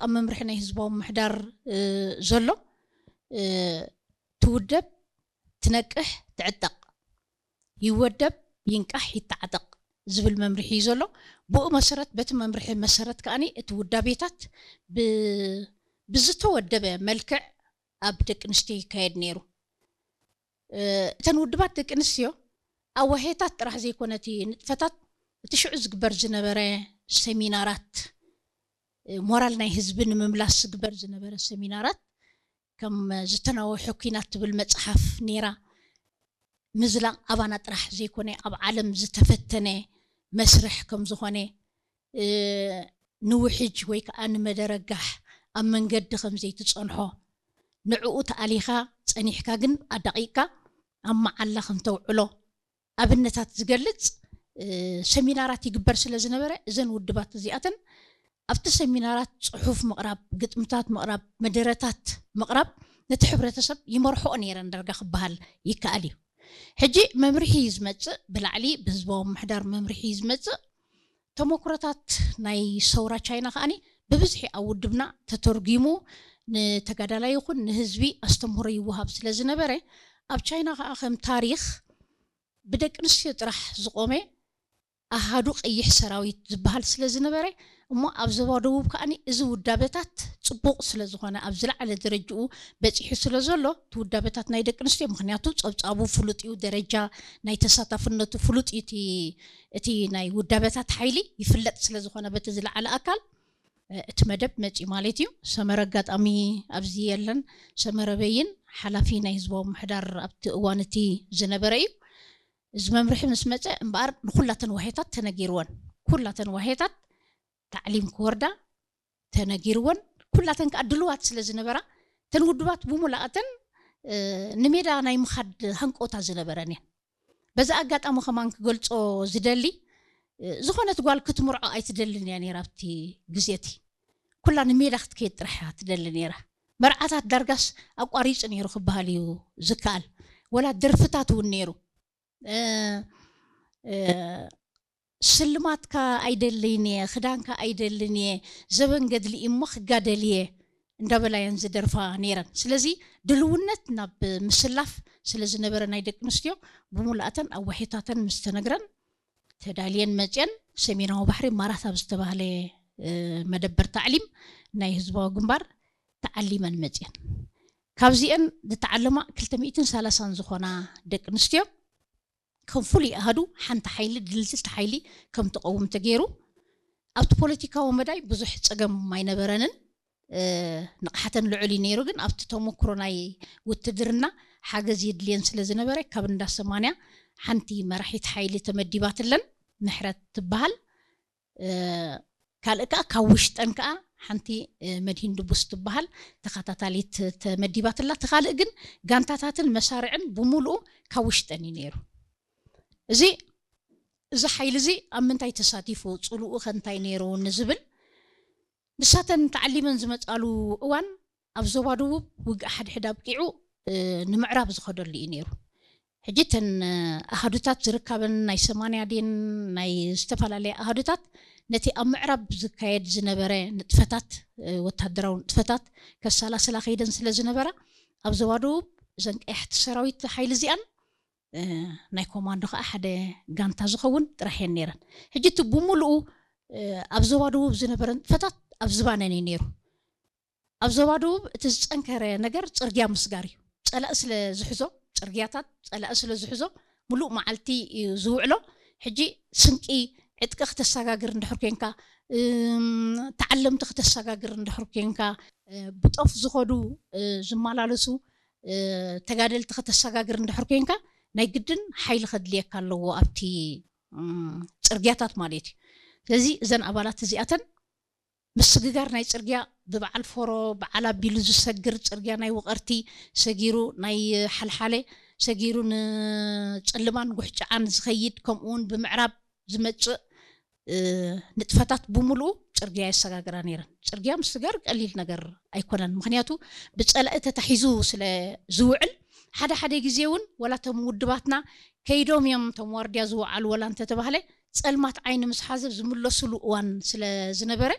ኣብ መምርሒ ናይ ህዝባዊ ምሕዳር ዘሎ ትውደብ፣ ትነቅሕ፣ ትዕጠቕ፣ ይወደብ፣ ይንቃሕ፣ ይተዓጠቕ ዝብል መምርሒ እዩ ዘሎ። ብኡ መሰረት፣ በቲ መምርሒ መሰረት ከኣኒ እቲ ውዳቤታት ብዝተወደበ መልክዕ ኣብ ደቂ ኣንስትዮ ይካየድ ነይሩ። እተን ውድባት ደቂ ኣንስትዮ ኣዋሄታት ጥራሕ ዘይኮነ እቲ ንጥፈታት፣ እቲ ሽዑ ዝግበር ዝነበረ ሰሚናራት፣ ሞራል ናይ ህዝቢ ንምምላስ ዝግበር ዝነበረ ሰሚናራት፣ ከም ዝተናወሐ ኲናት ትብል መፅሓፍ ነይራ። ምዝላቕ ኣባና ጥራሕ ዘይኮነ ኣብ ዓለም ዝተፈተነ መስርሕ ከም ዝኾነ፣ ንውሕጅ ወይ ከዓ ንመደረጋሕ ኣብ መንገዲ ከም ዘይትፀንሖ፣ ንዕኡ ተኣሊኻ ፀኒሕካ ግን ኣዳቂቅካ ኣብ መዓላ ከም ተውዕሎ ኣብነታት ዝገልፅ ሰሚናራት ይግበር ስለ ዝነበረ፣ እዘን ውድባት እዚኣተን ኣብቲ ሰሚናራት ፅሑፍ ምቕራብ፣ ግጥምታት ምቕራብ፣ መደረታት ምቕራብ ነቲ ሕብረተሰብ ይመርሕኦ ነይረን ዳርጋ ክበሃል ይከኣል እዩ። ሕጂ መምርሒ እዩ ዝመፅእ፣ ብላዕሊ ብህዝባዊ ምሕዳር መምርሒ እዩ ዝመፅእ። ተመክሮታት ናይ ሰውራ ቻይና ከኣኒ ብብዝሒ ኣብ ውድብና ተተርጒሙ ንተጋዳላይ ይኹን ንህዝቢ ኣስተምህሮ ይወሃብ ስለ ዝነበረ፣ ኣብ ቻይና ከዓ ከም ታሪኽ ብደቂ ኣንስትዮ ጥራሕ ዝቆመ ኣሃዱ ቀይሕ ሰራዊት ዝበሃል ስለ ዝነበረ፣ እሞ ኣብ ዞባ ደቡብ ከኣኒ እዚ ውዳበታት ፅቡቕ ስለ ዝኾነ፣ ኣብ ዝለዓለ ደረጅኡ በፂሑ ስለ ዘሎ፣ እቲ ውዳበታት ናይ ደቂ ኣንስትዮ፣ ምክንያቱ ፀብፃቡ ፍሉጥ እዩ፣ ደረጃ ናይ ተሳታፍነቱ ፍሉጥ እዩ፣ እቲ እቲ ናይ ውዳበታት ሓይሊ ይፍለጥ ስለ ዝኾነ በቲ ዝለዓለ ኣካል እቲ መደብ መፂኡ ማለት እዩ። ሰመረ ኣጋጣሚ ኣብዚ የለን። ሰመረ በይን ሓላፊ ናይ ህዝባዊ ምሕዳር ኣብቲ እዋን እቲ ዝነበረ እዩ። እዚ መምርሒ ምስ መፀ እምበኣር ንኩላተን ዋሄታት ተነጊርወን፣ ኩላተን ዋሄታት ታዕሊም ክወርዳ ተነጊርወን፣ ኩላተን ከዓ ድልዋት ስለ ዝነበራ፣ እተን ውድባት ብሙላኣተን ንሜዳ ናይ ምኻድ ሃንቆታ ዝነበረን እየን። በዚ ኣጋጣሚ ከማን ክገልፆ ዝደሊ፣ ዝኾነት ጓል ክትምርዖ ኣይትደልን እያ ነይራ ኣብቲ ግዜ እቲ። ኩላ ንሜዳ ክትከይድ ጥራሕ እያ ትደሊ ነይራ። መርዓታት ዳርጋስ ኣቋሪፁ ነይሩ ክበሃል እዩ ዝከኣል። ወላ ደርፍታት እውን ነይሩ። ስልማትካ ኣይደልን እየ፣ ክዳንካ ኣይደልን እየ፣ ዘበን ገድሊ እሞ ክጋደል እየ እንዳበላ እየን ዝደርፋ ነይረን። ስለዚ ድልውነት ናብ ምስላፍ ስለ ዝነበረ ናይ ደቂ ኣንስትዮ ብሙላእተን ኣዋሒታተን ምስ ተነግረን ተዳልየን መፅየን ሰሜናዊ ባሕሪ ማራት ኣብ ዝተባህለ መደበር ታዕሊም ናይ ህዝባዊ ግንባር ተዓሊመን መፅየን። ካብዚአን ዝተዓለማ ክልተ ሚእትን ሰላሳን ዝኾና ደቂ ኣንስትዮ ከም ፍሉይ ኣሃዱ ሓንቲ ሓይሊ ድልድልቲ ሓይሊ ከም ትቐውም ተገይሩ። ኣብቲ ፖለቲካዊ መዳይ ብዙሕ ፀገም ኣይነበረንን። ንቕሓተን ልዑል እዩ ነይሩ፣ ግን ኣብቲ ተመክሮ ናይ ውትድርና ሓገዝ የድልየን ስለ ዝነበረ ካብ እንዳ ሰማንያ ሓንቲ መራሒት ሓይሊ ተመዲባትለን ምሕረት ትበሃል። ካልእ ከዓ ካብ ውሽጠን ከዓ ሓንቲ መድሂን ድቡስ ትበሃል ተኸታታሊት ተመዲባትላ። እቲ ካልእ ግን ጋንታታትን መሳርዕን ብምሉኡ ካብ ውሽጠን እዩ ነይሩ። እዚ እዚ ሓይሊ እዚ ኣብ ምንታይ ተሳቲፉ፣ ፅልኡ ከ እንታይ ነይሩ ንዝብል፣ ንሳተን ተዓሊመን ዝመፃሉ እዋን ኣብ ዞባ ደቡብ ውግእ ሓድሕድ ኣብቂዑ ንምዕራብ ዝኸደሉ እዩ ነይሩ። ሕጂ እተን ኣሃዱታት ዝርካበን ናይ ሰማንያ ድየን ናይ ዝተፈላለያ ኣሃዱታት ነቲ ኣብ ምዕራብ ዝካየድ ዝነበረ ንጥፈታት፣ ወታደራዊ ንጥፈታት ከሰላስላ ከይደን ስለ ዝነበራ፣ ኣብ ዞባ ደቡብ እዘን ቀያሕቲ ሰራዊት ሓይሊ እዚኣን ናይ ኮማንዶ ከዓ ሓደ ጋንታ ዝኸውን ጥራሕ እየን ነይረን። ሕጂ እቲ ብምሉኡ ኣብ ዞባ ደቡብ ዝነበረ ንጥፈታት ኣብ ዝባነን እዩ ነይሩ። ኣብ ዞባ ደቡብ እቲ ዝፀንከረ ነገር ፅርግያ ምስጋር እዩ። ፀላኢ ስለ ዝሕዞ፣ ፅርግያታት ፀላኢ ስለ ዝሕዞ፣ ሙሉእ መዓልቲ እዩ ዝውዕሎ። ሕጂ ስንቂ፣ ዕጥቂ ክተሰጋግር እንድሕር ኮንካ፣ ተዓለምቲ ክተሰጋግር እንድሕር ኮንካ፣ ብጦፍ ዝኸዱ ዝመላለሱ ተጋደልቲ ክተሰጋግር እንድሕር ኮንካ፣ ናይ ግድን ሓይሊ ከድልየካ ኣለዎ ኣብቲ ፅርግያታት ማለት እዩ። ስለዚ እዘን ኣባላት እዚኣተን ምስግጋር ናይ ፅርግያ፣ ብበዓል ፎሮ በዓል ኣቢሉ ዝሰግር ፅርግያ፣ ናይ ውቐርቲ ሰጊሩ፣ ናይ ሓልሓለ ሰጊሩ፣ ንፅልማን ጉሕጭዓን ዝኸይድ፣ ከምኡ እውን ብምዕራብ ዝመፅእ ንጥፈታት ብምሉኡ ፅርግያ የሰጋግራ ነይረን። ፅርግያ ምስጋር ቀሊል ነገር ኣይኮነን። ምክንያቱ ብፀላኢ ተታሒዙ ስለ ዝውዕል፣ ሓደ ሓደ ግዜ እውን ወላ እቶም ውድባትና ከይዶም እዮም እቶም ዋርድያ ዝወዓሉ ወላ እንተተባህለ፣ ፀልማት ዓይኒ ምስ ሓዘብ ዝምለሱሉ እዋን ስለ ዝነበረ፣